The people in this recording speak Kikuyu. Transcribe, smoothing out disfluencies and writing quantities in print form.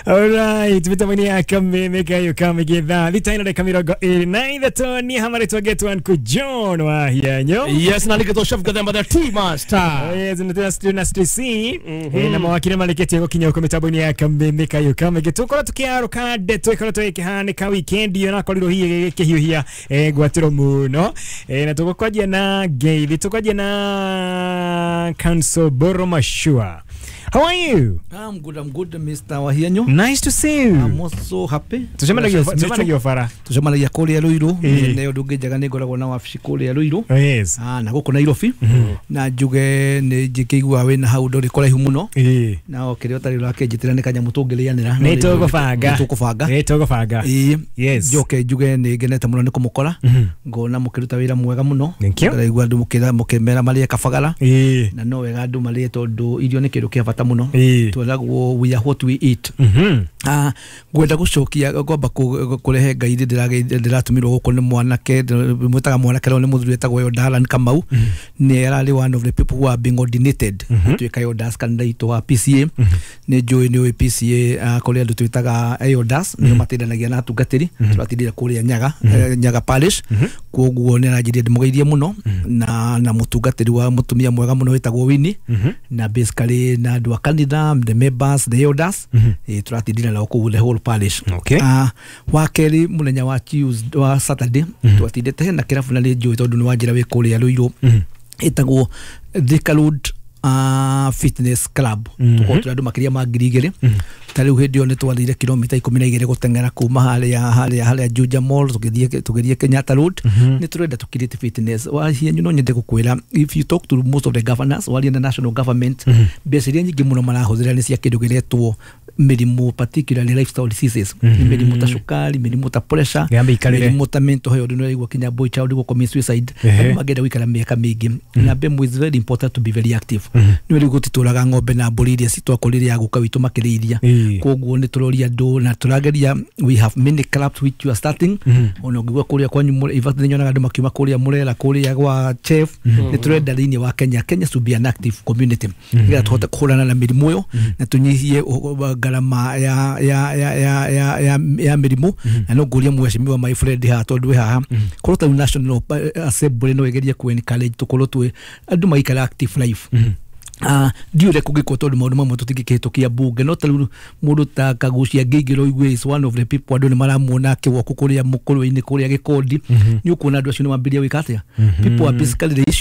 Alright, mitambo ya kameme kayo kamegitha thita na dakika 23 ni hamari twagetwo Uncle John wa hianyo. Yes, na nĩkĩtwo Chef Gathemba the Tea Master. Yes, na tena studio na studio C na mawakili marĩkĩtie gũkinya huko mitambo-inĩ ya kameme kayo kamege tũkorwo tũkĩarũka ndeto ĩkoretwo ĩkĩhanĩka weekend ĩyo nakorirwo hihi ĩgĩkĩhiũhia ngwatĩro mũno na tũgũkwanjia na ngeithi, tũkwanjia na Council Boro Mashua. How are you? I'm good, I'm good, Mr. Wahianyo. Nice to see you. I'm also happy. Tucemanagia bara. Tucemanagia kũrĩa Ruiru. Nĩ ũndũ ũngĩ njega nĩ ngoragwo na wabici kũrĩa Ruiru. Yes. Ah, na gũkũ Nairobi. Na njuge nĩ njĩkĩigua wĩna hau ndũrĩ kũraihu mũno. Na o kĩrĩa ũtarĩ ũrakĩnjĩtĩra nĩ kanyamũ tũngĩrĩanĩra. Nĩ tũgũbanga. Nĩ tũkũbanga. Nĩ tũgũbanga. Yes. Njoke njuge nĩ ngenete mũno nĩ kũmũkora. Ngona mũkĩruta wĩra mwega mũno. Ndĩraigua andũ mũkĩmera marĩe kabagara. Na no wega andũ marĩe tondũ irio nĩ kĩndũ kĩa bata mũno. Tweragwo we are what we eat. Ngwenda gũcokia ngomba kũrehe ngai ndĩratũmirwo gũkũ nĩ mwanake mwĩtaga mwanake no nĩ mũthuri wĩtagwo Yodalan Kamau. Nĩ ararĩ one of the people who are being ordinated gũtuĩka Yodas kanitha itũ wa PCA. Nĩ njũĩ nĩ ũĩ PCA kũrĩ andũ twĩtaga Yodas nĩo mateithanagia na atungatĩri. Tũratindire kũrĩa Nyaga, Nyaga Parish. Koguo nĩ aranjĩrire ndĩmũgeithie mũno na mũtungatĩri wa mũtumia mwega mũno wĩtagwo Winnie na basically na andũ a kanitha, the members, the elders, tũratindire nao kũu the whole parish. Okay. Wa kerĩ mũthenya wa Tuesday, wa Saturday, twatindĩte hena kĩrabu na nĩ njũĩ tondũ nĩ wanjĩra wĩ kũrĩa Ruiru ĩtagwo Thika Road Fitness Club. Tũkorwo tũrĩ andũ makĩria ma 2000. Ta rĩu hĩndĩ ĩyo nĩ twathire kilomita 12 gũteng'era kuma harĩa Juja Mall tũgĩthiĩ Kenyatta Road. Nĩ tũrenda tũ create fitness. Wahianyu no nyende gũkwĩra, if you talk to most of the governors waria na national government, mbeca iria nyingĩ mũno marahũthĩra nĩ cia kĩndũ kĩretwo mĩrimũ, particularly lifestyle diseases. Mĩrimũ ta cukari, mĩrimũ ta pressure, mĩrimũ ta mental health. Nĩ ũraigua kinya boy child gũ commit suicide. Andũ mangĩenda gũikara mĩaka mĩingĩ. Na mbembe is very important to be very active. Nĩ rĩu gũtitũraga ng'ombe na mbũri iria citwakũrĩre ya gũka witũ makĩrĩithia. Koguo nĩ tũroria andũ na tũrageria, we have many clubs which you are starting. Ona ũngĩigua kũrĩa kwanyu, in fact nĩ nyonaga andũ makiuma kũrĩa Murera, kũrĩa gwa Chef. Nĩ tũrenda thĩinĩ wa Kenya, Kenya should be an active community nĩgetha tũhote kũhũrana na mĩrimũ ĩyo na tũnyihie ngarama ya mĩrimũ. Na no ngũrie mheshimiwa my friend haha tondũ wĩ haha, korwo ta National Assembly no ĩgerie kũ encourage tũkorwo twĩ andũ maikara active life. Ndiũ ũrĩa kũngĩkwo tondũ maũndũ mamwe tũtingĩkĩhĩtũkia bunge, no ta rĩu mũndũ ta Kagucia Ngĩingĩra ũigue is one of the people andũ nĩ maramuona akĩwalk kũrĩa mũkũrũ-inĩ kũrĩa Gĩkondi. Nĩ ũkuona andũ acio nĩ mambĩrĩria gwĩka atĩa. People are basically the issue of